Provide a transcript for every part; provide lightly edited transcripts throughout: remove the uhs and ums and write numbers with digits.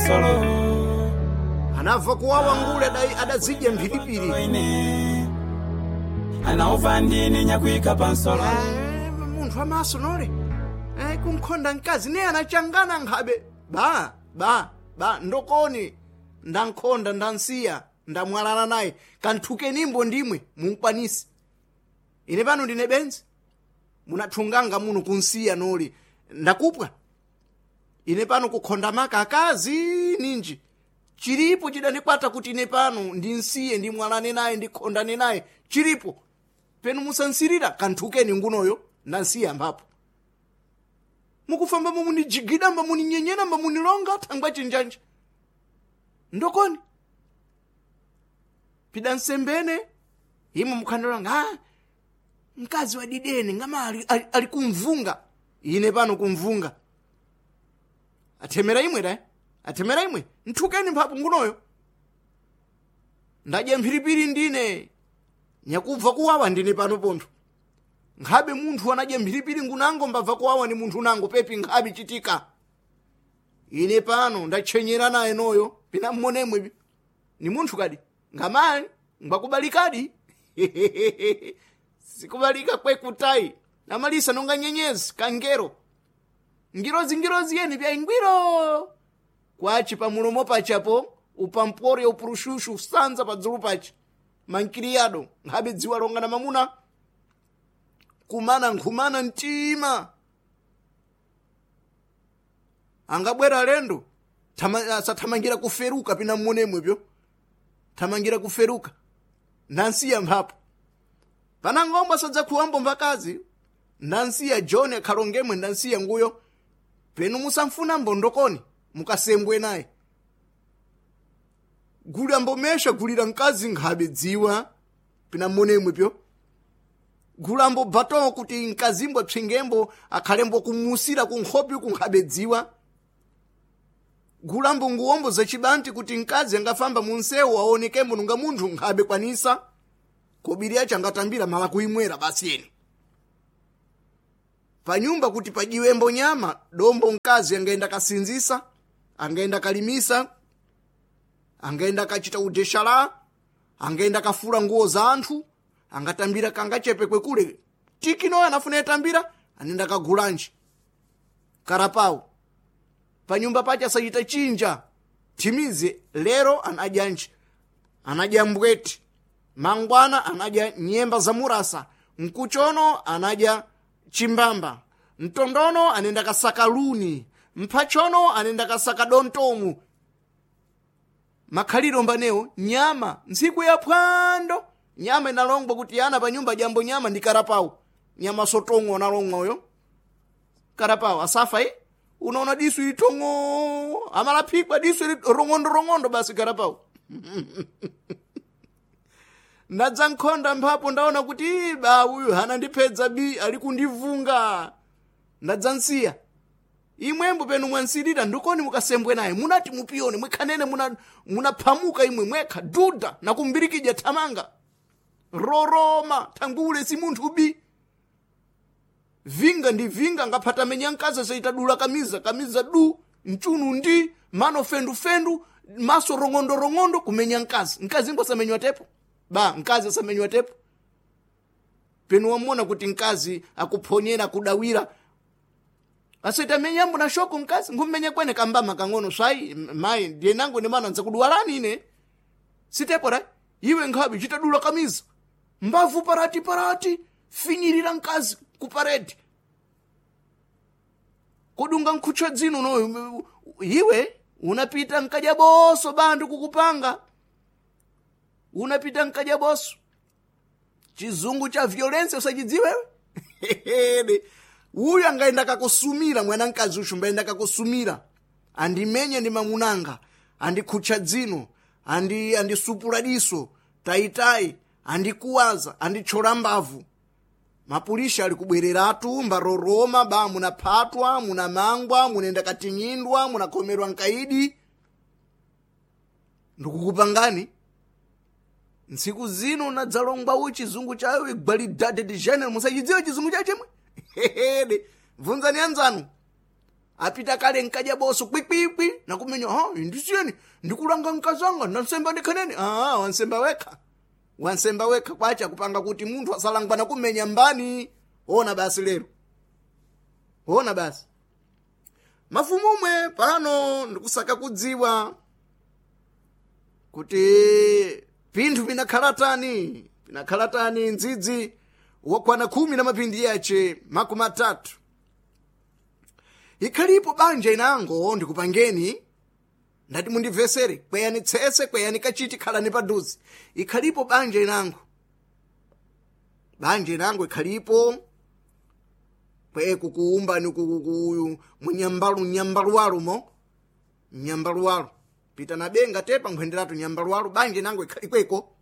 pansolo. Anabva kuwawa ngule adazidya mphiripiri. Ine anaova ndine nyakuika pansolo. Munthu amaso nole kunkhonda mkazi ne anachangana nkhabe ba ba ba ndokoni ndankhonda ndansiya ndamwalala naye kanthukenimbo ndimwe munkwanise. Ine pano ndine benzi munathunganga muno kunsiya noli ndakupwa. Ine pano kukhonda maka akazi ninji chilipo chidandikwata kuti ine pano ndinsiye ndimwalane naye ndikhondane naye chilipo penu musansirira kanthukeni ngunoyo ndansiya mphapo. Mukufamba mumunijigidamba muninyenyeramba munilonga thangwa chinjanja ndokoni pida nsembene imwe mukhandolanga mkazi wa didene ngama ali kumvunga. Ine pano kumvunga athemera imwe dai athemera imwe nthukeni mphapo ngunoyo ndadya mphiripiri ndine nyakubva kuwawa ndine pano pontho. Nkhabe munthu anadya mphiripiri ngunango mbabva kuwawa ni munthu unango pepi nkhabe chitika. Ine pano ndachenyera naye noyo pina mmonemwe ni munthu kadi ngamali ngwakubalikadi. Sikubalika kwekutayi amalisa nonga nyenyezi kangero ngirozi ngirozi yeni pya ingwiro kwachi pamulomo pachapo upampore upurushushu usanza padzulu pachi mankiriyado nkhabe dziwa longa na mamuna kumana nkhumana mtima angabwera alendo sathamangira kuferuka pina mmonemwepyo thamangira kuferuka nansiya mphapo panangombo sadzakuwambo mbakazi nansiya John akhalongemwe ndansiya nguyo penu musamfuna mbondokoni mukasembwe naye gula mbomesha gulira mkazi nkhabe dziwa pina mmonemwepyo gulambo bato kuti mkazimbo psingembo akhalembo kumusira kunkhopi kunkhabe dziwa gulambo nguwombo zachibanti kuti mkazi angafamba munsewu aonekembo nunga munthu nkhabe kwanisa kobiri yacho angatambira mala kuimwera basi eni panyumba kuti pajiwembo nyama dombo mkazi angaenda kasinzisa angaenda kalimisa angaenda kachita udeshala angaenda kafula nguo za anthu angatambira kangachepe kwekule tikinoyo anafuna yatambira anenda kagulanji karapawo panyumba pache asachita chinja thimize lero anadya nji anadya mbweti mangwana anadya nyemba za murasa mkuchono anadya chimbamba mtondono anenda kasaka luni mphachono anenda kasaka dontomu makhaliro mbanewo nyama ntsiku ya phwando nyama inalongwa kuti ana panyumba jambo nyama ndi karapawo nyama sotong'o analong'oyo karapawo asafa unaona disu ili tong'o amalaphikwa disu ili rong'ondo rong'ondo basi karapawo. Ndadza nkhonda mphapo ndaona kuti ba uyu hana ndipedza bi ali kundivunga ndadza nsiya imwembo penu mwansirira ndikoni mukasembwe naye munati mupiyone mwikhanene munaphamuka imwe mwekha duda nakumbirikidya thamanga roroma thangule si munthu bi vinga ndi vinga ngaphata menya mkazi asaitadula kamiza kamiza du mchunu ndi mano fendufendu maso rong'ondo rong'ondo kumenya mkazi mkazi imbo asamenywa tepo ba mkazi asamenywa tepo penu wamona kuti mkazi akuphonyera akudawira asaita menyambo na shoko mkazi ngummenya kwene kambama kang'ono swai mayi ndiye nangu ndi mana nzakudwalani ine sitepo ra iwe nkhabe chitadula kamiza mbavu parati parati finyirira mkazi kuparedi kudunga nkhutcha dzino noyo iwe unapita nkadya boso bandu kukupanga unapita nkadya boso chizungu cha violence usachidziwewe uyu angaenda kakusumira mwana mkazi uchu mbaenda kakusumira andimenye ndi mamunanga andikhutcha dzino andisupula diso tayitai andikuwaza andithyola mbavu mapulisha ali kubwereratu mbaroroma ba munaphatwa munamangwa munenda katinyindwa munakhomerwa nkaidi ndikukupangani ntsiku zino nadzalongwa u chizungu chayo igwalidade de general musachidziwe chizungu chayo chemwe bvunzani anzanu. Apita kale nkaja boso kwikwikwi nakumenya ha ndisiyeni ndikulanga nkazanga ndansemba ndikhanene. Ah, wansemba wekha. Wansemba wekha kwacha kupanga kuti munthu asalangwa nakumenya mbani. Ona basi lero. Ona basi. Mafumu umwe pano ndikusaka kudziwa kuti pinthu pinakhala tani ndzidzi wakwana 10 na mapindi yache 30. Ikhalipo banja inango ndikupangeni ndati mundimvesere kweyani tsese kweyani kachiti khalani paduze. Ikhalipo banja inango ikhalipo kweku kuumbani kuyu munyambalu nyambaluwalumo nyambaluwalu pita na benga tepa nkhwenderatu nyambaluwalu banja inango ikweko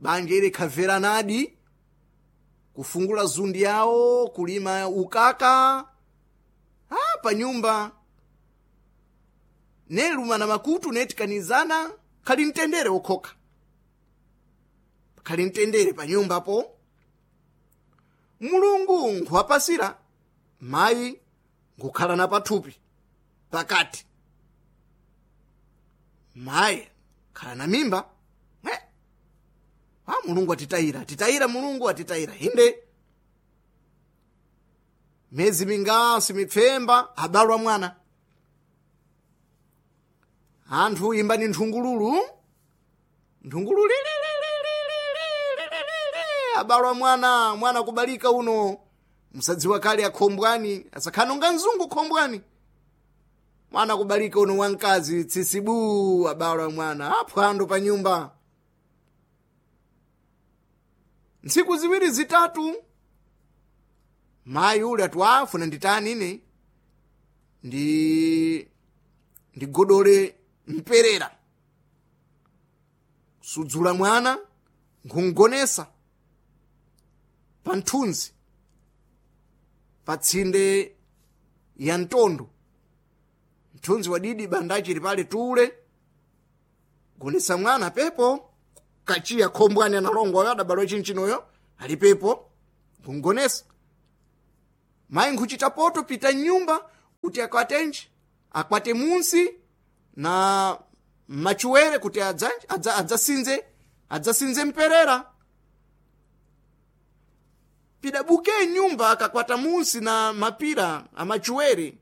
banja ile ikhavera nadi kufungula zundi yawo kulima ukaka pa nyumba neluma na makutu netikanizana khali mtendere wokhoka khali mtendere pa nyumbapo. Mulungu nkuwapasira mayi nkukhala na pathupi pakati mayi khala na mimba Mulungu atitayira mulungu atitayira inde mezi mingasi mipfemba abalwa mwana. Anthu imbani nthungululu nthungululu abalwa mwana mwana kubalika uno musadziwa kale akhombwani asakhanonga mzungu khombwani mwana kubalika uno wamkazi tsisibu abalwa mwana aphwando pa nyumba. Ntsiku ziwiri zitatu mayi ule ati afuna nditani ine ndigodole mperera sudzula mwana nkhungonesa pa nthunzi pa tsinde ya mtondo mthunzi wadidi bandachili pale tule gonesa mwana pepo kachiya khombwani analongwa adabalwa chinchinoyo ali pepo nkhungonesa. Mayi nkhuchita poto pita nyumba kuti akwatenji akwate munsi na machuwere kuti adzasinze mperera. Pidabuke nyumba akakwata munsi na mapira amachuwere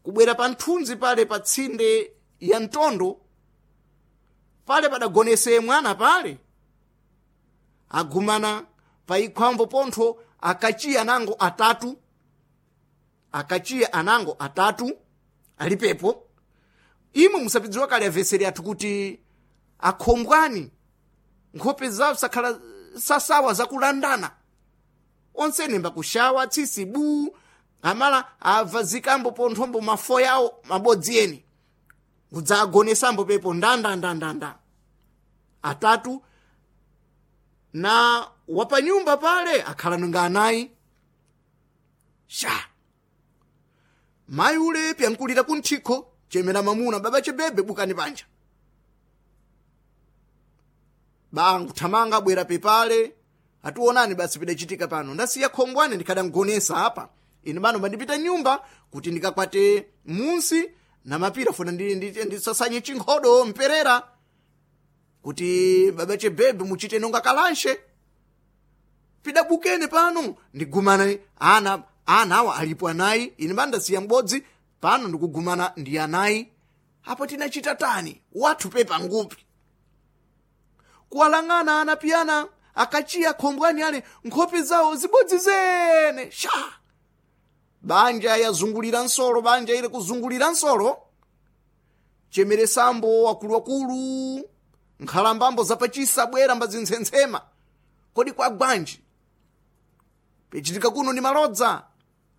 kubwera pa nthunzi pale pa tsinde ya mtondo pale padagonese mwana pale agumana pa ikhwambo pontho akachiya nango atatu alipepo. Imwe musapidziwa kale aveseri athu kuti akhombwani nkhope zawo sakhala sasawa zakulandana onsene mbakushawa tsisi bu amala abva zikambo ponthombo mafo yawo mabodzi eni kudzagonesambo pepo ndandandandanda atatu na wapanyumba pale akhala nunga anayi sha. Mayi ule pyankulira kunthikho chemera mamuna baba chebebe bukani panja banguthamanga bwera pepale ationani basi pidachitika pano ndasiya khongwane ndikhadangonesa apa ine bano bandipita nyumba kuti ndikakwate munsi na mapira funa ndisasanye chinkhodo mperera kuti baba chebebe muchite nonga kalanshe pidabukene pano ndigumana ana awa alipo anayi ine bandasiya m'bodzi pano ndikugumana ndi anayi apo tinachita tani wathu pepa ngupi kuwalang'ana ana piyana akachiya khombwani ale nkhope zawo zibodzi zene sha. Banja yazungulira nsolo banja ile kuzungulira nsolo chemeresambo akuluakulu nkhalambambo zapachisa bwera mbazintsensema kodi kwa gwanji pechitika kuno ndi malodza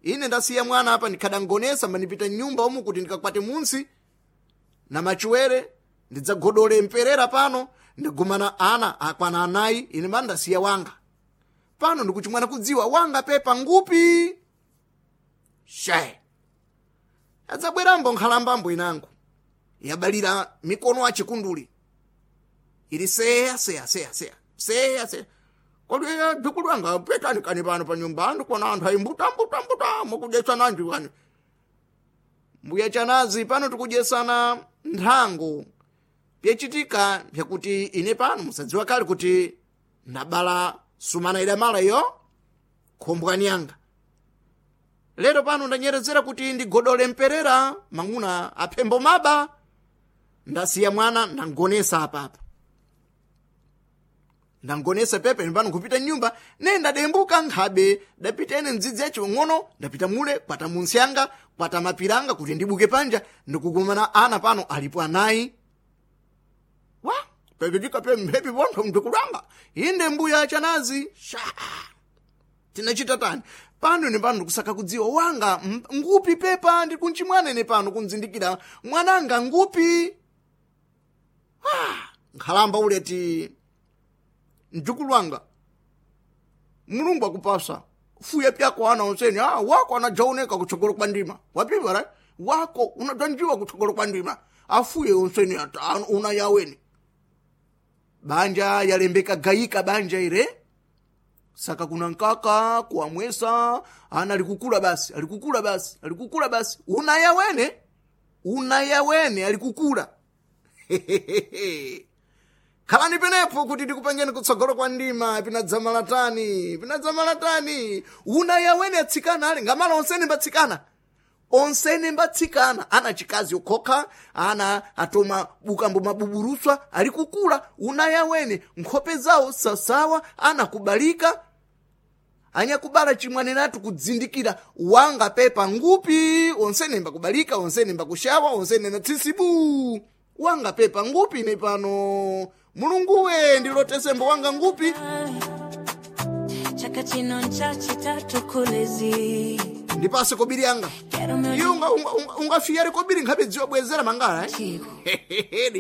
ine ndasiya mwana apa ndikhadangonesa mandipita nyumba umu kuti ndikakwate munsi na machuwere ndidzagodole mperera pano ndigumana ana akwana anayi ine mandasiya wanga pano ndikuchimwana kudziwa wanga pepa ngupi she. Adzabwerambo nkhalambambo inango yabalira mikono achikunduli ili seya seya seya seya seya seya kodi bikulu anga petani kani pano pa nyumba andikuona anthu ayi mbuta mbuta mbuta mukudyetsa nanji kani. Mbuya Chanazi, pano tikudyesana nthango. Pyachitika pyakuti ine pano musadziwa kale kuti ndabala sumana idamala iyo khombwani yanga. Lero pano ndanyerezera kuti ndigodole mperera mang'una aphembo maba, ndasiya mwana ndangonesa apapa, ndangonesa pepe pano kupita nyumba ne ndadembuka nkhabe dapita ene mdzidzi yacho ng'ono, ndapita mule kwata munsyanga kwata mapiranga kuti ndibuke panja, ndikukumana ana pano alipo anayi wa pepetika pe mphepi pontho mdikulanga inde mbuya Chanazi sha tinachita tani pano ine pano ndikusaka kudziwa wanga ngupi pepa ndikunchimwana ine pano kunzindikira mwananga ngupi. Nkhalamba uleti mjukulu wanga, Mulungu akupasa fuya pyako ana onseni. Wako anajaoneka kutsogolo kwa ndima wapiva right? Wako unajanjiwa kutsogolo kwa ndima afuye onseni una yaweni banja yalembeka gayika banja ire saka kuna nkaka kuamwesa ana alikukula basi alikukula basi alikukula basi unayawene unayawene alikukula. Khalani penepo kuti ndikupangeni kutsogolo kwa ndima pinadzamalatani pinadzamalatani unayawene atsikana ali ngamala onsene mbatsikana onsene mbatsikana ana chikazi okhokha ana atoma bukambo mabuburuswa alikukula unayawene nkhope zawo sasawa ana kubalika anyakubala chimwanenatu kudzindikira wanga pepa ngupi onsene mbakubalika onsene mbakushawa onsene na tsisibu wanga pepa ngupi ine pano Mulunguwe ndilotesembo wanga ngupi. Chaka chino nchachitatu kulezi ndipase kobiri yanga Quero meu iye ungafiyare kobiri nkhabe dziwa bwezera mangala eh? chico.